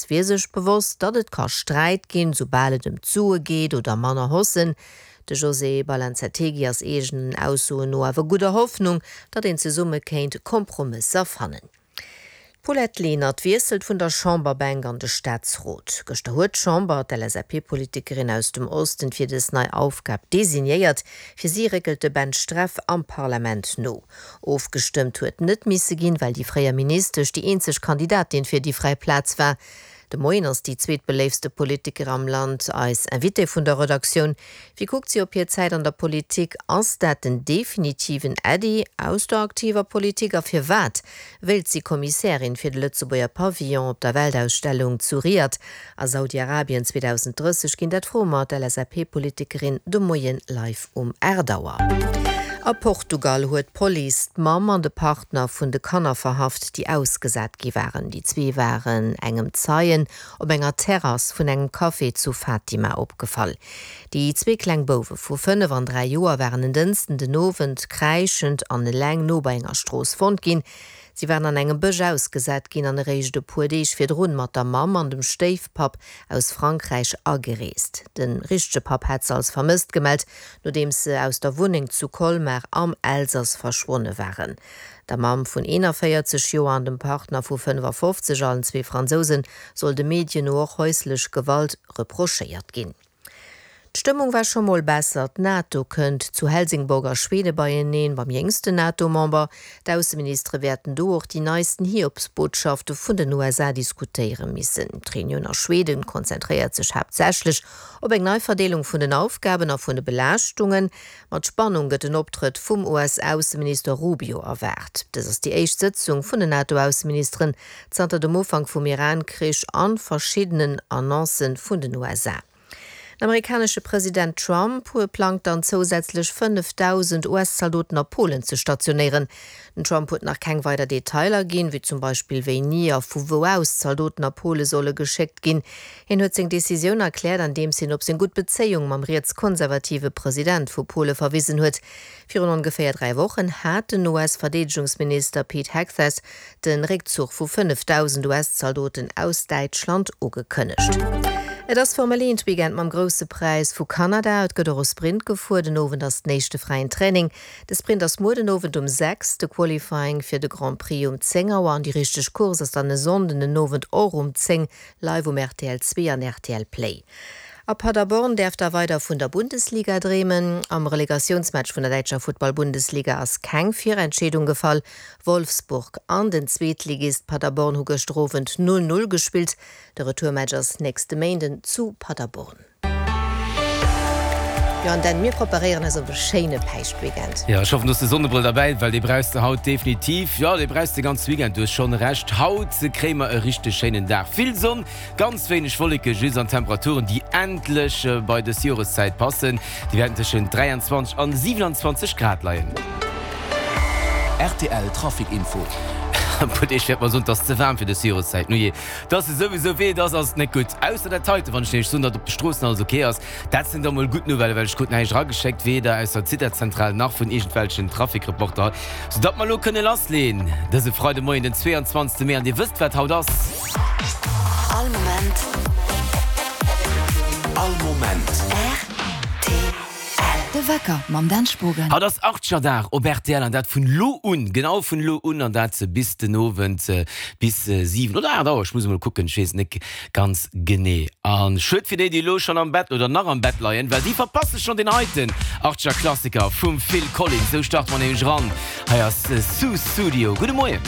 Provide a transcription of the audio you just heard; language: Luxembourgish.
wier sech bewosst, datt et ka Sträit ginn, soubal et ëm d'Sue geet oder manner Haussen. De José Balanzategui ass eegenen Aussoen no awer gudder Hoffnung, datt een zesumme kéint Kompromësser fannen. D'Paulette Lenert wiesselt vun der Chamberbänk an de Staatsrot. Gëschter huet d'Chamber d'LSAP-Politikerin aus dem Osten fir dës nei Aufgab designéiert. Fir si réckelt de Ben Streff am Parlament no. Ofgestëmmt huet net misse ginn, well déi fréier Ministesch déi eenzeg Kandidatin fir déi fräi Plaz war. De Moien ass déi zweetbeléiftste Politiker am Land eis Invitée vun der Redaktioun. Wéi kuckt si op hir Zäit an der Politik? Ass dat den definitiven Äddi aus der aktiver Politik? A firwat wéilt si Kommissärin fir de Lëtzebuerger Pavillon op der Weltausstellung zu Riad a Saudi-Arabien 2030 ginn? Dat froe mer d'LSAP-Politikerin de Moien live um 8 Auer. A Portugal huet d'Police d'Mamm an de Partner vun de Kanner verhaft, déi ausgesat gi waren. Déi zwee waren engem Zeien op enger Terrass vun engem Café zu Fatima opgefall. Déi zwee kleng Bouwe vu 5 an 3 Joer waren en Dënschden den Owend kräischend an eleng no bei enger Strooss fonnt ginn. Si waren an engem Bësch ausgesat ginn an eréischt e puer Deeg virdrun mat der Mamm an dem Stéifpapp aus Frankräich agereest. De richtege Papp hat se als vermësst gemellt, nodeems se aus der Wunneng zu Colmar am Elsass verschwonne waren. Der Mamm vun 41 Joer an dem Partner vu 55, allen zwee Fransousen, soll de Medien no och häuslech Gewalt reprochéiert ginn. D'Stëmmung war scho mol besser. D'NATO kënnt zu Helsingborg a Schwede beieneen, beim jéngsten NATO-Member. D'Ausseministere wäerten do och déi neisten Hiobsbotschafte vun den USA diskutéiere missen. D'Reunioun a Schweden konzentréiert sech haaptsächlech op eng nei Verdeelung vun den Aufgaben a vun de Belaaschtungen. Mat Spannung gëtt den Optrëtt vum US-Ausseminister Rubio erwaart. Dës ass déi éischt Sëtzung vun den NATO-Ausseministeren zanter dem Ufank vum Iran-Krich an verschiddenen Annoncë vun den USA. Den amerikanesche President Trump huet plangt dann zousätzlech 5.000 US-Zaldoten a Polen ze stationéieren. Den Trump huet nach keng weider Detailer ginn, wéi zum Beispill wéini a vu wou aus d'Zaldoten a Pole solle geschéckt ginn. Hien huet seng Decisioun erkläert, andeems hien op seng gutt Bezéiung mam rietskonservative President vu Pole verwisen huet. Virun ongeféier 3 Wochen hat den US-Verdeedegungsminister Pete Hegseth de Réckzuch vu 5.000 US-Zaldoten aus Däitschland ugekënnegt. Et ass Formel 1 Weekend mam Grousse Präis vu Kanada. Et gëtt och e Sprint gefuer. Den Owend ass den éischte fräien Training. De Sprint ass muer den Owend um 6, de Qualifying fir de Grand Prix um 10 Auer an déi richteg Course ass dann e Sonnden den Owend och um 10 live um rtl 2 an rtl Play. A Paderborn däerf da weider vun der Bundesliga dreemen. Am Relegatiounsmatch vun der däitscher Futtball-Bundesliga ass keng Virentscheedung gefall. Wolfsburg an den Zweetligist Paderborn hu gëschter Owend 0, 0 gespillt. De Retourmatch ass nächste Méinden zu Paderborn. Jo an Dan, mir preparéieren eis op e schéine Päischtweekend. Jo, ech hoffen du hues de Sonnebrëll derbäi, well dee brauchs de haut definitiv. Jo, dee brauchs de ganze Weekend, du hues schonn Recht. Haut kréie mer e richteg schéinen Dag. Vill Sonn, Ganz wéineg Wolleke just an Temperaturen, déi endlech bei dës Joreszäit passen. Déi wäerten tëschent 23 an 27 Grad leien. Rtl Trafic Info. E puer Deeg wäert mer soen, et ass ze waarm fir dës Joreszäit. Nujee, et ass esouwisou wéi et ass, ass et net gutt. Ausser dat heiten, wann ech nämlech soen, datt op de Stroossen alles ok ass. Dat sinn da mol gutt Nouvellen, well ech krut näischt erageschéckt, weder aus der Zitazentral nach vun iergendwelchen Traficreporter, soudatt mer elo kënne lassleeën dëse Freidemoien, den 22. Mee. An Dir wësst, wat haut ass. All Moment. All Moment. Rtl. De Wecker mam Dan Spogen. Haut ass Archerdag op rtl an dat vun lo un, genau vun lo un an dat bis den Owend bis 7 oder 8 Auer, ech muss emol kucken, ech weess et net ganz genee. A schued fir déi, déi elo schonn am Bett oder nach am Bett leien, well déi verpasse schonn deen heiten Archer-Klassiker vum Phil Collins. Esou starte mer nämlech eran. Hei ass Sussudio. Gudde Moien.